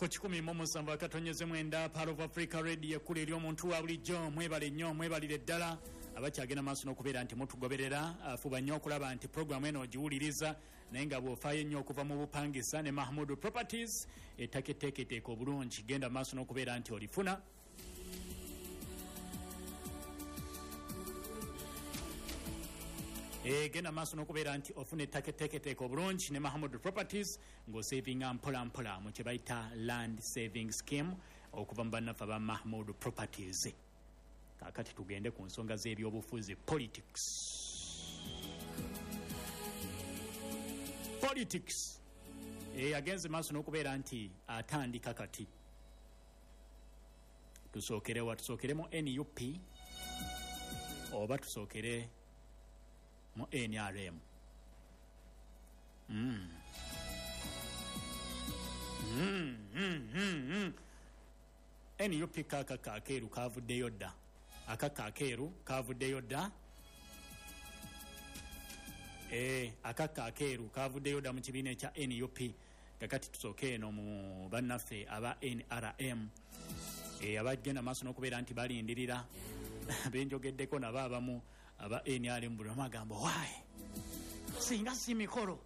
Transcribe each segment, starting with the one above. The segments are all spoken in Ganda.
Ku 107.9 Pearl of Africa Radio, ekkula eri omuntu wa bulijjo. Mwebale nnyo, mwebalire ddala abakyagenda maaso n'okubeera nti mutugoberera. Fuba nnyo okulaba nti puroguramu eno ogiwuliriza, naye nga bw'ofaayo ennyo okuva mu bupangisa ne Mahmudu Properties, ettaka etteeketeeka obulungi, genda maaso n'okubeera nti olifuna. Genda maaso n'okubeera nti ofuna ettaka etteeketeeka obulungi ne Mahamudu Properties, ng'osavinga mpola mpola mu kye bayita land saving scheme okuva mu bannaffe aba Mahmudu Properties. Kaakati tugende ku nsonga z'ebyobufuzi, politics. Politics agenze maaso n'okubeera nti atandika. Kati tusookerewa? Tusookere mu NUP oba tusookere mu NRM? NUP kaakaka akeeru kavuddeyo dda, akaka akeeru kavuddeyo dda. Akaka akeeru kavuddeyo dda mu kibiina ekya NUP. Kakati tusooke eno mu bannaffe aba NRM, abagenda maaso n'okubeera nti balindirira. Benjogeddeko nabo abamu aba NRM, buli omu agamba, "Waayi, singa si mikolo,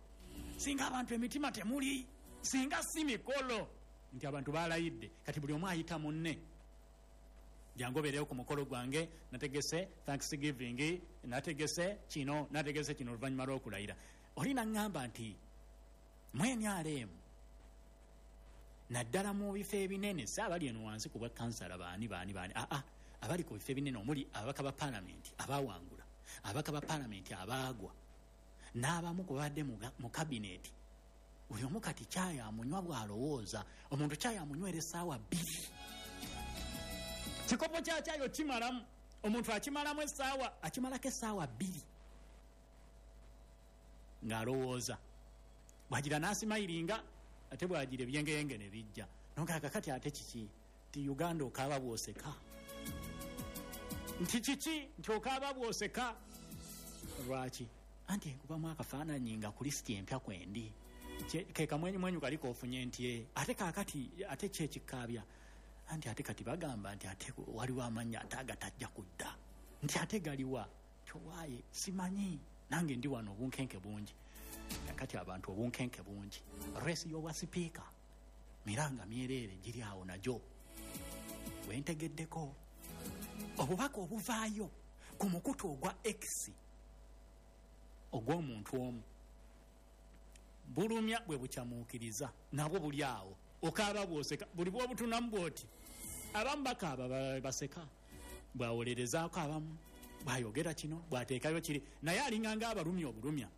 singa abantu emitima temuli, singa si mikolo," nti abantu balayidde. Kati buli omu ayita munne, "Jangu obeereyo ku mukolo gwange, nategese thanksgiving, nategese kino, nategese kino," oluvannyuma lw'okulayira. Oli naŋŋamba nti mu NRM, naddala mu bifo ebinene, si abali eno wansi ku bwa kansala, baani baani baani, aa, abali ku bifo ebinene omuli ababaka ba paalamenti abawangula, ababaka ba paalamenti abaagwa, n'abamu ku babadde mu kabineeti, buli omu kati kyayi amunywa bw'alowooza. Omuntu kyayi amunywera essaawa 2, kikopo kya kyayi okimalamu, omuntu akimalamu essaawa, akimalako essaawa 2 ng'alowooza. Bwagira n'asimayiringa, ate bwagira ebyengeyenge ne bijja nonga. Kakati ate kiki? Ti Uganda okaaba bw'oseka. Nti kiki? Nti okaaba bw'oseka. Lwaki? Anti enkubamu akafaananyi nga ku lisiti empya kwendi, ke kamwenyumwenyu kali kofunye nti ate kaakati ate ki ekikaabya? Anti ate kati bagamba nti ate waliwo amannya ate agatajja kudda, nti ate galiwa towaaye, simanyi nange ndi wano, obunkenke bungi. Kakati abantu obunkenke bungi. Race y'obwa sipiika miranga myereere giri awo nagyo. Wentegeddeko obubaka obuvaayo ku mukutu ogwa X ogw'omuntu omu bulumya bwe bukyamuukiriza, nabwo buli awo, okaaba bwoseka. Buli bwobutunamu bwoti, abamu bakaaba, baseka, bwawolerezaako abamu, bwayogera kino, bwateekayo kiri, naye alinganga abalumya obulumya.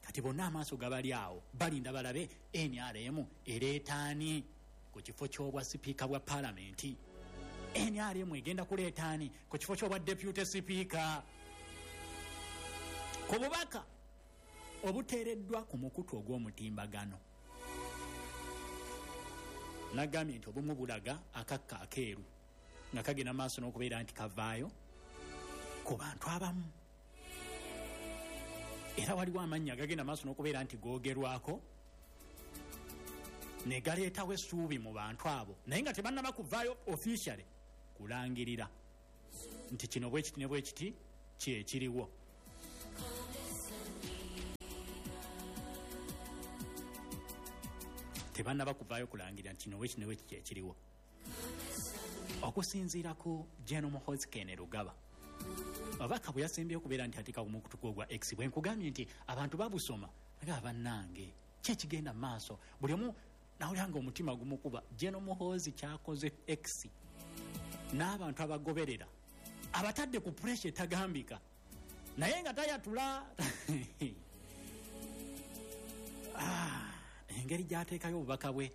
Kati bonna amaaso gabali awo, balinda balabe NRM ereetaani ku kifo ky'obwa sipiika bwa paalamenti, NRM egenda kuleetaani ku kifo ky'obwa deputy sipiika. Ku bubaka obuteereddwa ku mukutu ogw'omutimbagano, nagambye nti obumu bulaga akakka akeeru nga kagenda maaso n'okubeera nti kavaayo ku bantu abamu, era waliwo amannya agagenda maaso n'okubeera nti googerwako ne galeetawo essuubi mu bantu abo, naye nga tebannaba kuvaayo officially kulangirira nti kino bwe kiti ne bwe kiti kyekiriwo. Tebannaba kuvaayo kulangirira nti kino bwe kiti ne bwe kiti kyekiriwo. Okusinziira ku Gen Muhoozi Kainerugaba, obubaka bwe yasembyeyo okubeera nti ateeka ku mukutu gwe ogwa X, bwe nkugambye nti abantu babusoma aga, bannange, ki ekigenda mu maaso? Buli omu nawulira nga omutima gumukuba. Gen Muhoozi kyakoze X n'abantu abagoberera, abatadde ku pressure etagambika, naye nga tayatula. Engeri gy'ateekayo obubaka bwe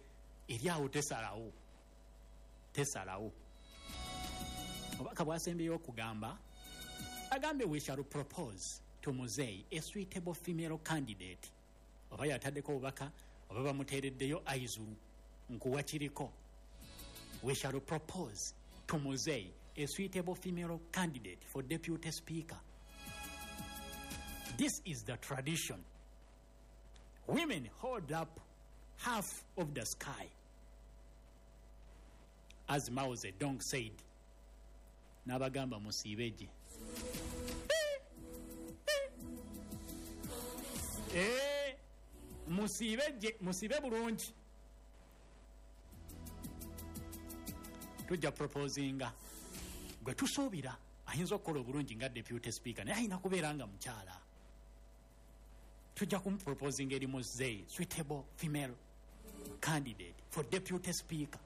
eri awo tesalawo, tesalawo. Obubaka bwasembyeyo okugamba, agambye, "We shall propose to Muzei a suitable female candidate." Oba yataddeko obubaka oba bamuteereddeyo aizulu nkuwa kiriko, "We shall propose to Muzei a suitable female candidate for deputy speaker. This is the tradition. Women hold up half of the sky." As Mao Zedong said, n'abagamba musiibe gye. Musiibe gye, musiibe bulungi. Tujja proposinga gwe tusuubira ayinza okukola obulungi nga deputy speaker, naye alina kubeera nga mukyala. Tujja kumuproposinga eri muzeeyi, suitable female candidate for deputy speaker.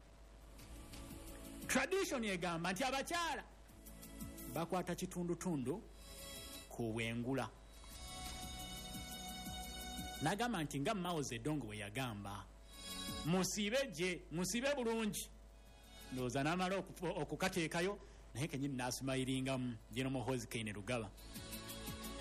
Tradition egamba nti abakyala bakwata kitundutundu ku bwengula. N'agamba nti nga Mao Zedong bwe yagamba, musiibe gye, musiibe bulungi. Ndowooza n'amala okukateekayo, naye kenyini n'asumayiringamu General Muhoozi Kainerugaba.